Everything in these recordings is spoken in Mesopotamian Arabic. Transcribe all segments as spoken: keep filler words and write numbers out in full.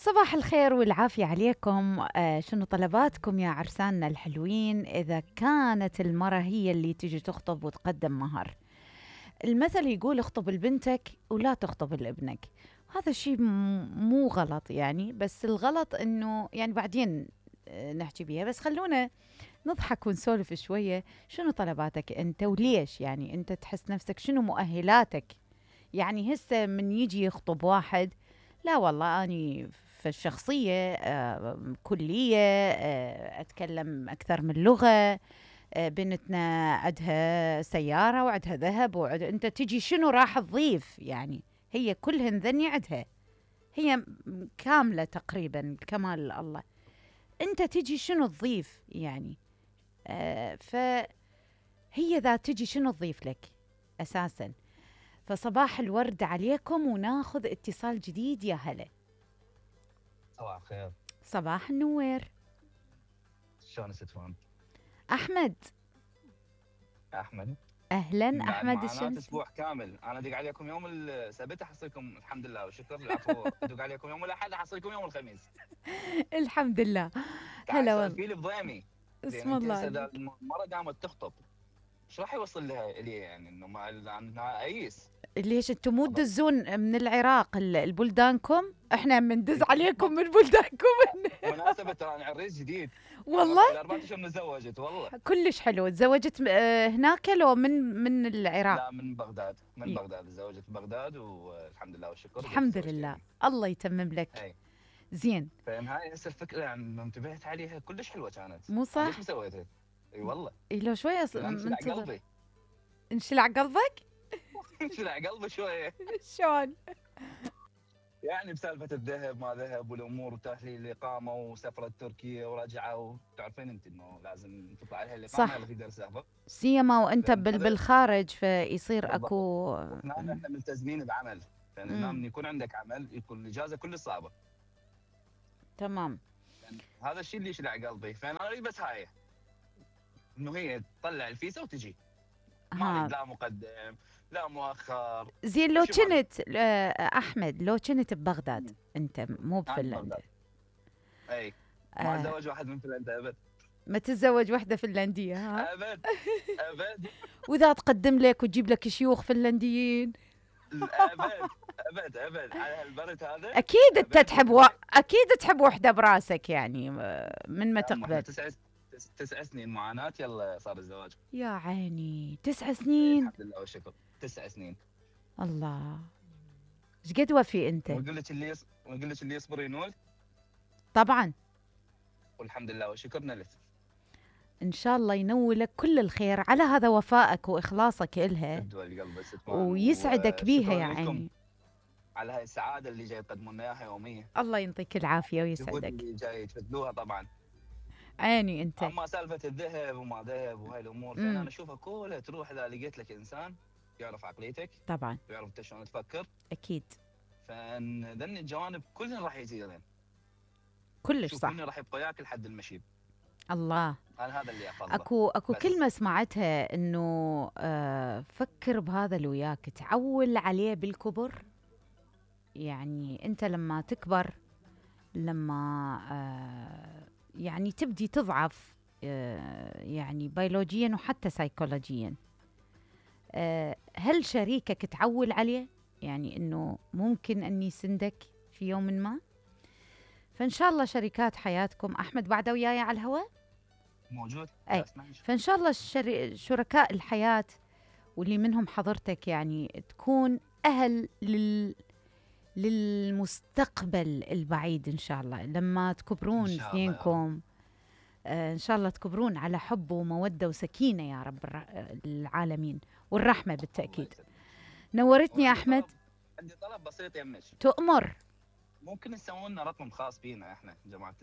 صباح الخير والعافية عليكم. آه شنو طلباتكم يا عرساننا الحلوين؟ إذا كانت المرة هي اللي تجي تخطب وتقدم مهر، المثل يقول اخطب لبنتك ولا تخطب لابنك. هذا الشيء مو غلط يعني، بس الغلط انه يعني بعدين آه نحكي بيها. بس خلونا نضحك ونسولف شوية. شنو طلباتك انت وليش؟ يعني انت تحس نفسك شنو مؤهلاتك؟ يعني هسه من يجي يخطب واحد، لا والله أني في الشخصية آه كلية، آه أتكلم أكثر من لغة، آه بنتنا عندها سيارة وعندها ذهب وعد... أنت تجي شنو راح تضيف؟ يعني هي كلهن ذني عندها، هي كاملة تقريبا كمال الله. أنت تجي شنو تضيف يعني؟ آه فهي ذا تجي شنو تضيف لك أساساً. فصباح الورد عليكم، وناخذ اتصال جديد. يا هلا. صباح الخير. صباح النوير. شلون ستفون؟ احمد. احمد. اهلا بعد احمد معاناة الشمسي. اسبوع كامل انا ادق عليكم يوم السبت احصلكم الحمد لله والشكر. العفو ادق عليكم يوم الاحد احصلكم يوم الخميس. الحمد لله. تعال هلا والله. سالفي لي بضيمي. زين اسم انت الله هسه اذا عليك. المره قامت تخطب ايش راح يوصل لها الي؟ يعني انه ما انها ايس. ليش انتم مو تدزون من العراق البلدانكم؟ احنا بندز عليكم من بلدانكم. مناسبة ترى عريس جديد. والله الاربعة اشهر من تزوجت والله. كلش حلو. تزوجت هناك لو من من العراق؟ لا من بغداد، من بغداد تزوجت في بغداد والحمد لله والشكر. الحمد لله يعني. الله يتمم لك. هي. زين. فاهم هاي هسه الفكره يعني انتبهت عليها كلش حلوه كانت. مو صح؟ ليش مسويتها؟ اي والله. إيه لو شويه انشلع منتظر. قلبي. انشلع قلبك؟ انشلع قلبي شويه. شلون؟ يعني بسالفه الذهب ما ذهب والامور وتحليل الاقامه وسفره تركيا ورجعه، وتعرفين انت انه لازم تطلع عليها الاقامه ولا تقدر تسافر. سيما وانت بالخارج فيصير اكو. وهنا احنا ملتزمين بعمل، فهنا من يكون عندك عمل يكون الاجازه كلش صعبه. تمام. يعني هذا الشيء اللي يشلع قلبي، فانا اريد بس هاي انه هي تطلع الفيزا وتجي. ما لا مقدم لا مؤخر. زين لو كنت احمد، لو كنت ببغداد انت مو بفنلندا. اي ما اتزوج واحد من فنلندا ابد. ما تتزوج وحده فنلنديه؟ ها ابد ابد. واذا تقدم لك وتجيب لك شيوخ فنلنديين؟ ابد ابد ابد على هالبرد هذا. اكيد انت تحب و... اكيد تحب وحده براسك يعني من ما تقبل. تسع تسع سنين معاناه، يلا صار الزواج. يا عيني تسع سنين. الحمد لله والشكر. تسع سنين. الله. ايش قد وفي انت؟ ويقول لك اللي يص... ويقول لك اللي يصبر ينول. طبعا. والحمد لله والشكر نلت. ان شاء الله ينولك كل الخير على هذا وفائك واخلاصك الها، ويسعدك بيها يا عيني. على هاي السعاده اللي جاي تقدمون اياها يوميا. الله يعطيك العافيه ويسعدك. اللي جاي تفدلوها طبعا. عيني انت. اما سالفه الذهب وما ذهب وهاي الامور فانا اشوفها كلها تروح اذا لقيت لك انسان يعرف عقليتك طبعا، ويعرف انت شلون تفكر. اكيد. فذن الجوانب كلهن راح يزيدن كلش صح. كلهن راح يبقى وياك لحد المشيب. الله. انا هذا اللي افضله. اكو اكو كلمه سمعتها انه آه فكر بهذا اللي وياك، تعول عليه بالكبر. يعني انت لما تكبر، لما آه يعني تبدي تضعف آه يعني بيولوجيا وحتى سيكولوجيا، آه هل شريكك تعول عليه؟ يعني انه ممكن ان يسندك في يوم ما. فان شاء الله شركات حياتكم. احمد بعده وياي على الهواء موجود. اي. فان شاء الله الشري... شركاء الحياه واللي منهم حضرتك يعني تكون اهل لل للمستقبل البعيد ان شاء الله. لما تكبرون اثنينكم آه ان شاء الله تكبرون على حب وموده وسكينه يا رب العالمين، والرحمه بالتاكيد. نورتني يا احمد. عندي طلب بسيط يمك. تؤمر. ممكن تسوون لنا رقم خاص بينا احنا جماعه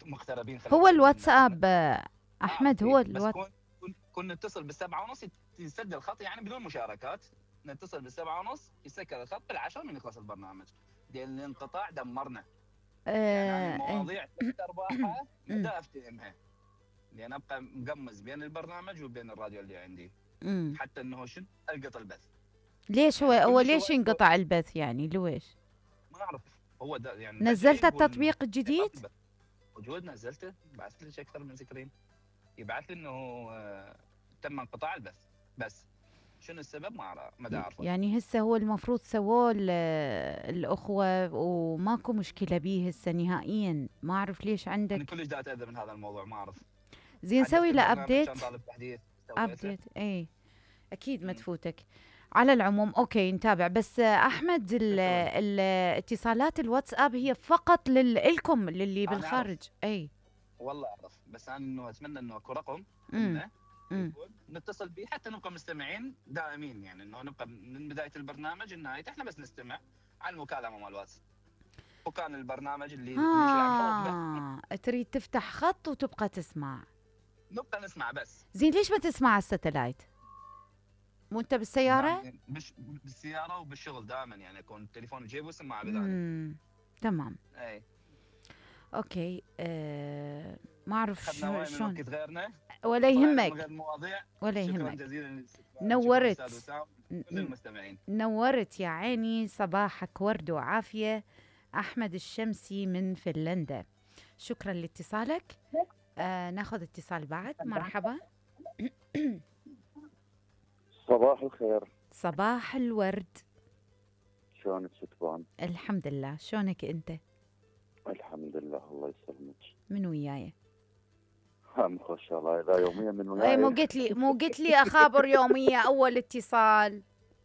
المغتربين. هو الواتساب احمد. هو الواتساب. كنا نتصل بالسبعة ونص يسجل الخط يعني بدون مشاركات. نتصل بالسبعة ونص يسكر الخط بالعشرة من يخلص البرنامج. لان الانقطاع دمرنا. آه يعني المواضيع ارباحها ما افتهمها. لان ابقى مقمز بين البرنامج وبين الراديو اللي عندي. مم. حتى انه شنو القط البث. ليش هو هو ليش ينقطع البث يعني؟ لويش؟ ما اعرف هو ده يعني نزلت بدعي يقول انه التطبيق الجديد؟ إيقاف البث موجود، نزلته، بعثت لك اكثر من سكرين يبعث لي انه آه، تم انقطاع البث، بس شنو السبب ما أعرف- ما دا اعرفه. يعني هسه هو المفروض سووه ال- الأخوة وماكو مشكلة بيه هسه نهائيا، ما أعرف ليش انا عندك. كلش دا اتاذى من هذا الموضوع، ما اعرف. زين حدثت سوي له البرنامج أبديت. كان طالب تحديث، سويته. أبديت اي أكيد ما مم. تفوتك. على العموم أوكي نتابع. بس آه، أحمد ال- شكرا. ال- اتصالات الواتساب هي فقط لل- لكم للي انا اعرف، بالخارج. اي والله اعرف، بس انا انه اتمنى انه اكو رقم امم لنا امم يكون نتصل به حتى نبقى مستمعين دائمين، يعني انه نبقى من بدايه البرنامج لنهايته احنا بس نستمع على المكالمه مال الواتس، وكان البرنامج اللي اللي شلعب حوض ها تريد تفتح خط وتبقى تسمع. نبقى نسمع بس. زين ليش ما تسمع على الستلايت؟ مو انت بالسيارة؟ يعني بش بالسياره وبالشغل دائما، يعني اكون التليفون بجيبي وسماعه بذلك. امم تمام اي اوكي. أه ما اعرف اخذنا شو وايد من شلون. وقت غيرنا، ولا طلعنا من يهمك غير المواضيع. ولا شكرا يهمك. جزيلا للاستقبال، شكرا نورت استاذ وسام، ن- كل ن- المستمعين. نورت يا عيني، صباحك ورد وعافية. أحمد الشمسي من فنلندا، شكرا لاتصالك. آه ناخذ اتصال بعد. مرحبا. صباح الخير، صباح الورد. شلونك ستبان؟ الحمد لله، شلونك انت؟ الحمد لله الله يسلمك. من وياي؟ هم خوش الله، اذا يوميا من اي مو وياي. قلت لي مو قلت لي اخابر يوميه اول اتصال.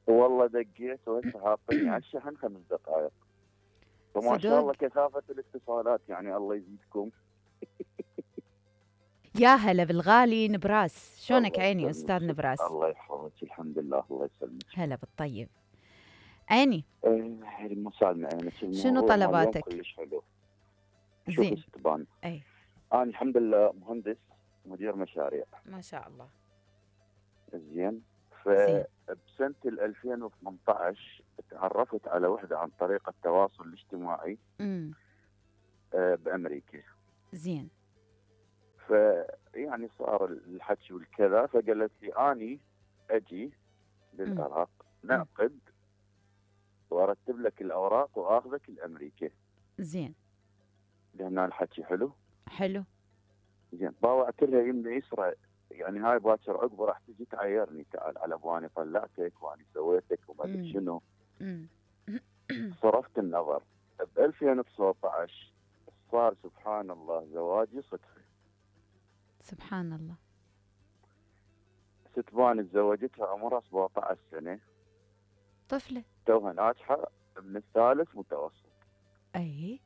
والله دقيت وهسه حاطني على الشحن خمس دقائق، وما شاء الله صدق؟ كثافة الاتصالات، يعني الله يزيدكم. يا هلا بالغالي نبراس، شلونك الله عيني يسلمك. استاذ نبراس؟ الله يحفظك، الحمد لله الله يسلمك. هلا بالطيب عيني. ايه مسالمة عينك. شنو الموضوع مال اليوم طلباتك؟ كلش حلو. شوفي زين. ستبان، اي انا الحمد لله مهندس مدير مشاريع، ما شاء الله. زين. زين. فبسنة ألفين وثمانية عشر تعرفت على وحدة عن طريق التواصل الاجتماعي امم آه، بأمريكا. زين. فيعني صار الحكي والكذا، فقالت لي اني اجي للعراق نعقد وارتب لك الاوراق واخذك لامريكا. زين. لهنا الحكي حلو. حلو. زين، باوعت لها يمنى يسرى، يعني هاي باكر عقبه راح تجي تعايرني، تعال على ابواني طلعتك واني سويتك وما ادري مم. شنو. امم صرفت النظر. ب ألفين وتسعة عشر صار سبحان الله زواجي صدفه. سبحان الله. ستبان تزوجتها عمرها سبعة عشر سنه، طفلة. توها ناجحه من الثالث متوسط. اي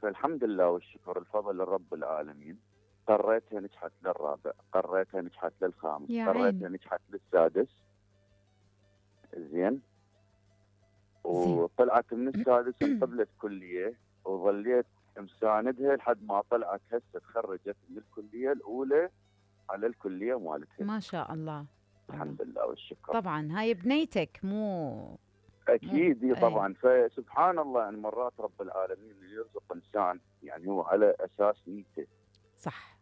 فالحمد لله والشكر الفضل لرب العالمين. قريتها نجحت للرابع، قريتها نجحت للخامس، يا قريتها عيني. نجحت للسادس. زين. وطلعت من السادس انقبلت كليه، وظليت مساندها لحد ما طلعت هسه تخرجت من الكليه الاولى على الكليه مالتها. ما شاء الله. الحمد لله والشكر. طبعا هاي بنيتك مو. اكيد مو. إي طبعا. فسبحان الله، يعني مرات رب العالمين اللي يرزق انسان يعني هو على اساس نيته. صح.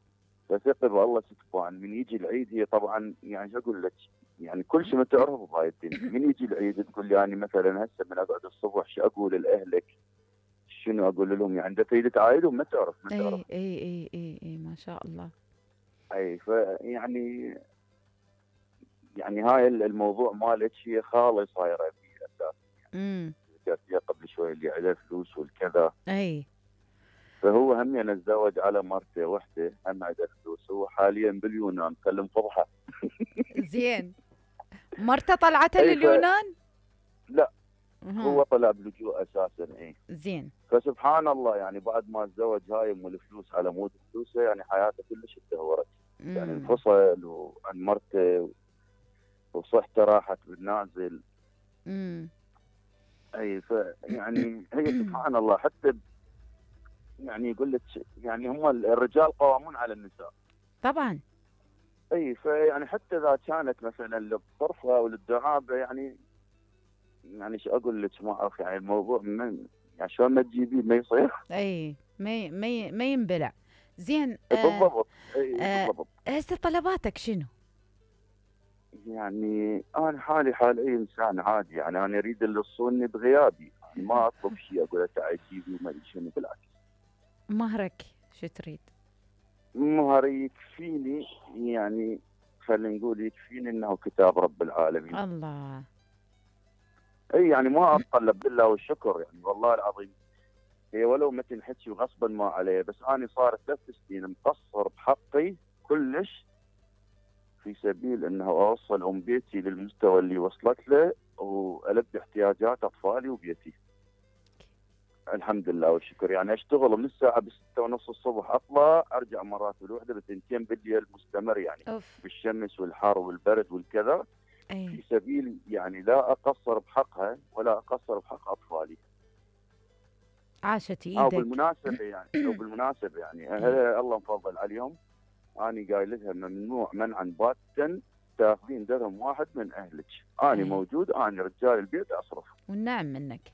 فثق بالله ستبان. من يجي العيد هي طبعا يعني شو اقول لك، يعني كل شيء ما تعرفه بهاي الدنيا. من يجي العيد تقول لي يعني مثلا هسه من اقعد الصبح شو اقول لاهلك، شنو اقول لهم، يعني اذا تريد تعايدهم ما تعرف ما تعرف. اي اي اي اي اي ما شاء الله. اي فيعني يعني هاي الموضوع مالك هي خاله صايره في اساس. امم ذكرت فيها قبل شوي اللي عليه فلوس والكذا. اي فهو هم يعني تزوج على مرته وحده هم عنده فلوس، هو حاليا باليونان كلم فضحه. زين. مرته طلعتها أي ف- لليونان؟ لا مهم. هو طلع بلجوء اساسا. اي زين. فسبحان الله، يعني بعد ما تزوج هاي ام الفلوس على مود فلوسه، يعني حياته كلش تدهورت. يعني مم. انفصل وعن مرته وصحته راحت بالنازل. امم اي فيعني هي سبحان الله. حتى ب- يعني يقول لك يعني هم الرجال قوامون على النساء. طبعا. اي فيعني حتى اذا كانت مثلا للطرفه وللدعابه، يعني يعني شو اقول لك ما اعرف، يعني الموضوع من يعني شلون ما تجيبيه ما يصير. اي ما ي- ما ي- ما ينبلع. زين. آه بالضبط. اي آه بالضبط. هسه طلباتك شنو؟ يعني انا حالي حال اي انسان عادي، يعني انا اريد اللي يصونني بغيابي. يعني ما اطلب شيء اقول له تعال جيبي وما ادري شنو، بالعكس. مهرك شو تريد؟ مهر يكفيني، يعني خلينا نقول يكفيني انه كتاب رب العالمين. الله. اي يعني ما اتطلب بالله والشكر، يعني والله العظيم هي ولو ما تنحكي وغصبا ما عليه، بس انا صار ثلاث سنين مقصر بحقي كلش في سبيل انه اوصل ام بيتي للمستوى اللي وصلت له والبي احتياجات اطفالي وبيتي. الحمد لله والشكر. يعني اشتغل من الساعه بستة ونص الصبح اطلع ارجع مرات بالوحده بثنتين بالليل مستمر، يعني أوف. بالشمس والحر والبرد والكذا، أي. في سبيل يعني لا اقصر بحقها ولا اقصر بحق اطفالي. عاشت او ايدك. بالمناسبه يعني او بالمناسبه يعني أهل الله مفضل عليهم، انا قايل لها ممنوع منعا باتا تاخذين درهم واحد من اهلك، انا أي. موجود، انا رجال البيت اصرف. والنعم منك.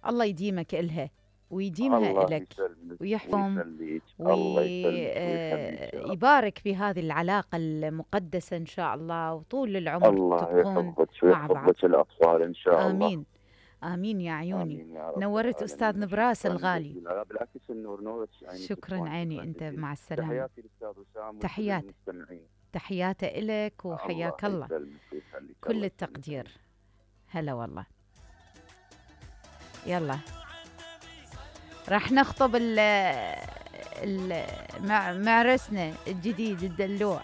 الله يديمك إلها ويديمها الله إلك يسلمك ويحفظ ويخليك، الله يسلمك ويخليك يا رب. ويبارك في هذه العلاقة المقدسة إن شاء الله، وطول العمر الله تبقون يحفظك مع بعض. ويحفظ لك الاطفال ان شاء الله. آمين آمين يا عيوني. امين يا رب نورت العالمين. أستاذ نبراس شكراً الغالي. جزيلاً. لا بالعكس النور نورك يعني. شكرا عيني أنت، مع السلامة. تحياتي للاستاذ وسام تحيات المستمعين. تحياته إلك وحياك الله, الله يسلمك ويخليك. كل الله التقدير. هلا والله. يلا راح نخطب ال ال مع معرسنا الجديد الدلوع.